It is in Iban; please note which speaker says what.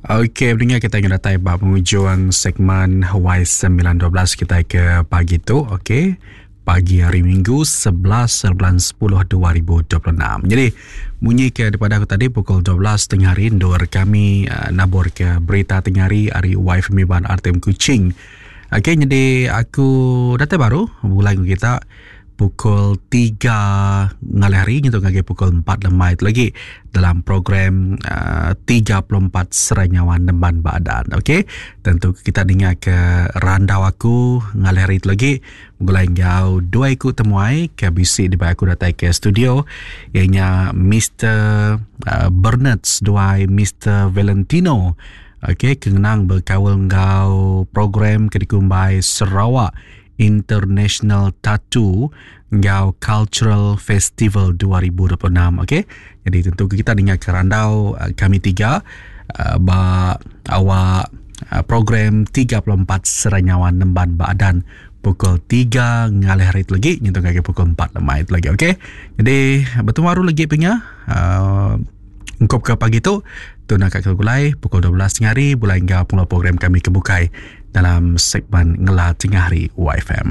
Speaker 1: Okey, pendengar kita yang datai ba penghujung segmen Y912 kita ke pagi tu. Okey. Pagi hari Minggu 11 bulan 10 2026. Jadi, munyi ke daripada aku tadi pukul 12 tengah hari endur kami uh, nabur ke berita tengah hari hari YFM Iban RTM Kuching. Okey, jadi aku datai baru bulan kita pukul 3 ngalih hari nyentuk ngagai pukul 4 lemai tu lagi dalam program uh, 34 Serai Nyawa Nemban Badan. Okey, tentu kita dengar ke randau aku ngalih hari tu lagi begulai enggau dua iku temuai ke bisi dibai aku datai ke studio ianya Mr. Uh, Bernard seduai Mr. Valentino. Okey, ke ngenang bekaul enggau program ke dikumbai Sarawak International Tattoo enggau Cultural Festival 2026. Okey. Jadi tentu kita dengar ke randau eh, kami tiga eh, ba awak eh, program 34 Seranyawan Nemban Baadan pukul 3 ngalih hari tu lagi nyentuk ngagai pukul 4 lemai tu lagi okey. Jadi betemu baru lagi punya uh, ungkup ke pagi tu tu nak ke gulai pukul 12 tengah hari bulai enggau pengeluar program kami ke bukai dalam segmen Ngela Tengah Hari YFM.